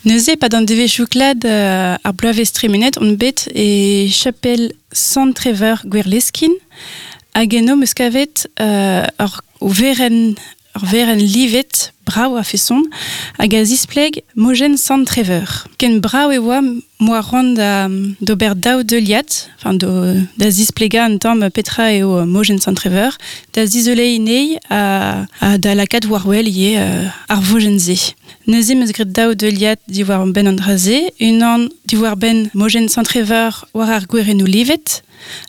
Neuze, e-pad an devezhioù klad ar bloavezh tremenet on bet e chapel Sant-Treveur Gwerleskin hag eno 'm eus kavet ur werenn ur werenn livet brav a-feson hag a zispleg mojenn Sant Treveur. Ken brav e oa m'oa c'hoant da d'ober daou deuliad, enfin da zisplegañ un tamm petra eo mojenn Sant Treveur, da zizoleiñ anezhi ha da lakaat war-wel ivez ar vojenn-se. Neuze 'm eus graet daou deuliad diwar-benn an dra-se, unan diwar-benn mojenn Sant Treveur war ar gwerennoù livet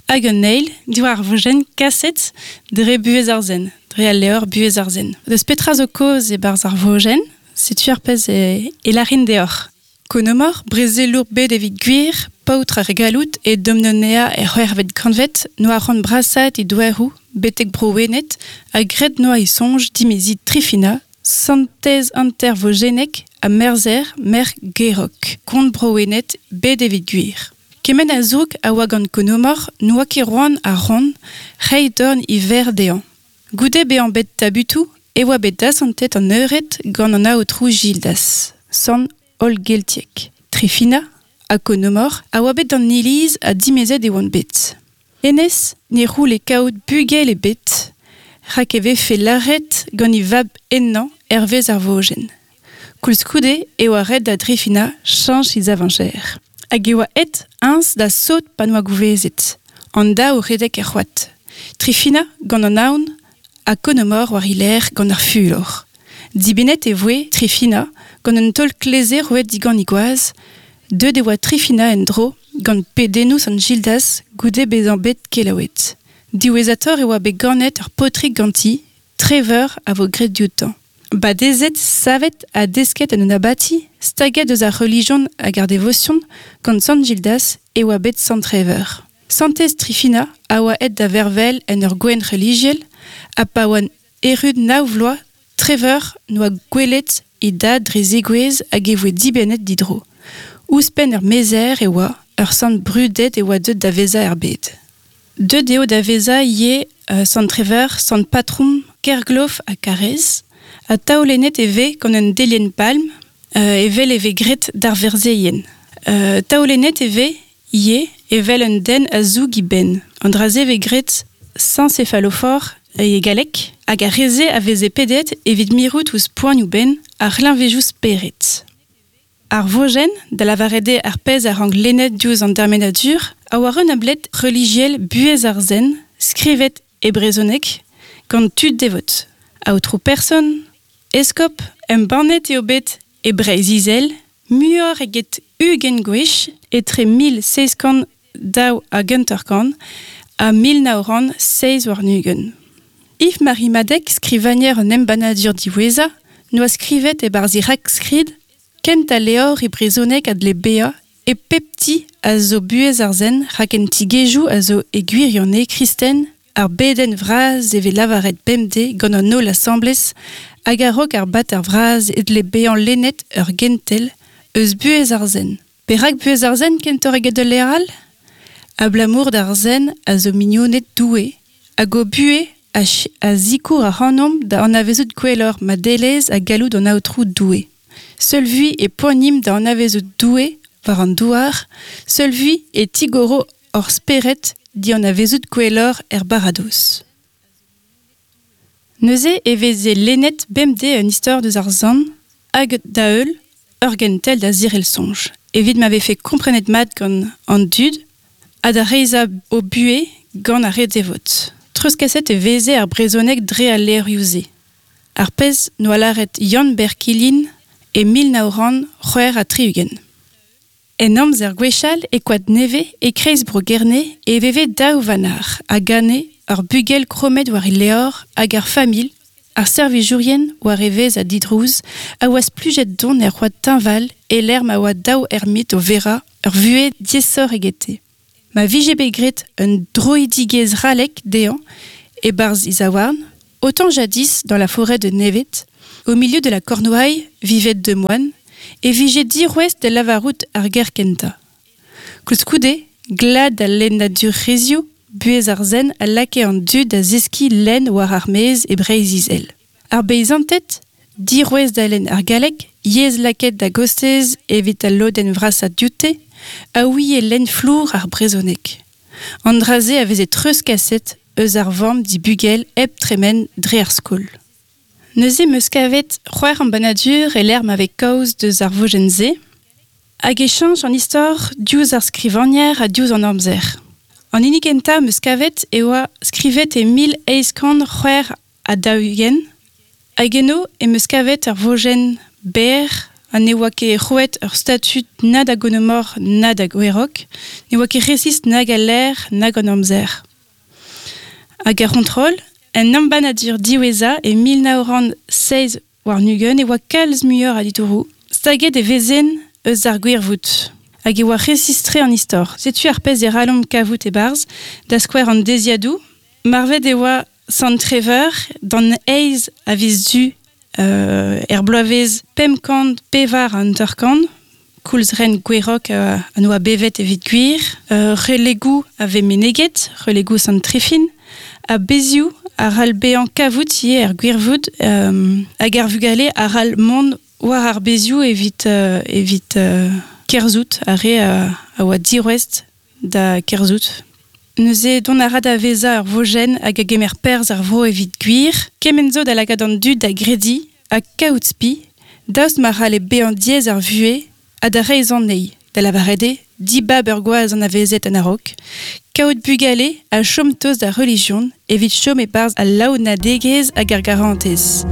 hag un eil diwar ar vojenn kaset dre buhez ar zen, dre al levr Buhez ar zen. Deus petra zo kaoz e-barzh ar vojenn, setu ar pezh e, e lârin deoc'h. Konomor, brezelour bet evit gwir, paotr ar galloud e Domnonea er c'hwec'hvet kantved, n'oa c'hoant brasaat e douaroù betek Bro-Wened ha graet n'oa e soñj dimeziñ Trifina, santez hanter-vojennek ha merzher merc'h Gerok, kont Bro-Wened bet evit gwir. Kement a zoug a oa gant Konomor n'oa ket c'hoant ar c'hont reiñ dorn e verc'h dezhañ. Goude bezañ bet tabutoù e oa bet dasantet an eured gant an aotrou Gildas, sant hollgeltiek. Trifina ha Konomor a oa bet d'an iliz ha dimezet e oant bet. Hennezh ne c'houlle kaout bugel ebet rak e vefe lâret gant e vab henañ hervez ar vojenn. Koulskoude e oa ret da Drifina cheñch he zavañjer. Hag e oa aet eñ da sot pa n'oa gouvezet. An daou o redek er c'hoad. Trifina gant an aon ha Konomor war he lerc'h gant ar fulor. Dibennet e voe Trifina gant un taol kleze roet digant he gwaz. Deuet e oa Trifina en-dro gant pedennoù Sant Gildas goude bezañ bet kelaouet. Diwezhatoc'h e oa bet ganet ur paotrig ganti, Treveur a vo graet dioutañ. Badezet, savet ha desket en un abati staget eus ar relijion hag ar devosion gant Sant Gildas e oa bet Sant Treveur. Santez Trifina a oa aet da vervel en ur gouent relijiel ha pa oa erru nav vloaz Treveur n'oa gwelet e dad dre zegouezh hag e voe dibennet didro. Ouzhpenn ur mezher e oa, ur sant brudet e oa deuet da vezañ er bed. Deuet eo da vezañ ivez sant Treveur, sant patrom Kerglof ha Karrez, ha taolennet e vez gant un delienn palm evel e vez graet d'ar verzeien. Taolennet e vez ivez evel un den a zoug e benn. An dra-se vez graet saint céphalophore e galleg, hag ar re-se a veze pedet evit mirout ouzh poanioù-benn ar c'hleñvejoù spered. Ar vojenn, da lavaret eo ar pezh a rank lennet diouzh an dermenadur, a oa un abled relijiel buhez ar zen, skrivet e brezhoneg gant tud devot. Aotrou person, eskob, embannet eo bet e Breizh-Izel muioc'h eget 20 gwech etre 1752 ha 1927. Yves-Marie Madec, skrivagner an embannadur diwezhañ, n'oa skrivet e-barzh e rakskrid Kentañ levr e brezhoneg a dle bezañ e pep ti a zo buhez ar sent rak en tigezhioù a zo e gwirionez kristen ar bedenn vras e vez lavaret bemdez gant an holl asambles hag a-raok ar bater vras e dle bezañ lennet ur gentel eus buhez ar sent. Perak buhez ar sent kentoc'h eget ul levr all? Abalamour d'ar sent a zo mignoned Doue hag o buhez a sikour ac'hanomp da anavezout gwelloc'h madelezh ha galloud an Aotrou Doue. Seul vui e poanimp da anavezout Doue war an douar, seul vui e tigoro hor spered dianavezout gwelloc'h er baradoz. Neuze e veze lennet bemdez un istor deus ar sant hag da-heul ur gentel da zirel soñj, evit ma vefe komprenet mat gant an dud ha da reizhañ o buhez gant ar re devot. Treuzkaset e veze ar brezhoneg dre al levrioù-se. Ar pezh 'noa lâret Yann-Ber Kilin e 1966. En amzer gwechall e Koad Nevez, e-kreiz Bro-Gerne, e veve daou vanac'h a gane ur bugel krommet war e levr hag ar familh, ar servijourien war evezh ha didrouz, a oa splujet don er c'hoad teñval e-lec'h ma oa daou ermit o verañ ur vuhez diaesoc'h egete. Ma vije bet graet un droidigezh c'hallek dezhañ e-barzh e zaouarn, autant jadis dans la forêt de Nevet, au milieu de la Cornouaille vivaient deux moines, e vije dirouez da lavarout ar ger kentañ. Koulskoude, glad al lennadurezhioù, buhez ar zen a lakae an dud da zeskiñ lenn war ar maez e Breizh-Izel. Ar beizanted, Dirouez da lenn ar galleg, yezh lakaet da gostez evit al lodenn vrasañ dioute, a ouie lenn flour ar brezhoneg. An dra-se a veze treuzkaset eus ar vamm d'he bugel hep tremen dre ar skol. Neuze 'm eus kavet c'hwec'h embannadur e-lec'h ma vez kaoz deus ar vojenn-se, hag e cheñch an istor diouzh ar skrivagner ha diouzh an amzer. An hini kentañ 'm eus kavet e oa skrivet e 1846, hag eno em eus kavet ur vojenn berr ha ne oa ket roet ur statud na da Gonomor na da Gwerok, ne oa ket resis nag al lec'h nag an amzer. Hag er c'hontrol, en embannadur diwezhañ e 1927 e oa kalz muioc'h a ditouroù. Staget e vezen eus ar gwirvoud hag e oa resis-tre an istor. Setu ar pezh e c'hallomp kavout e-barzh, da skouer an deziadoù. Marvet e oa Sant Treveur d'an eizh a viz Du er bloavezh 554, koulz ren Gwerok a oa bevet evit gwir. Relegoù a vez meneget, relegoù Sant Trifin, ha bezioù a c'hall bezañ kavout ivez er gwirvoud, hag ar vugale a c'hall mont war ar bezioù evit evit kerzhout ar re a oa dirouest da kerzhout. Neuze dont a ra da vezañ ur vojenn hag a gemer perzh ar vro evit gwir. Kement zo da lakaat an dud da grediñ ha kaout spi, daoust ma c'halle bezañ diaes ar vuhez ha da reizhañ anezhi, da lavaret eo dibab ur gwaz anavezet en a-raok, kaout bugale ha chom tost d'ar relijion evit chom e-barzh al laouenadegezh hag ar garantez.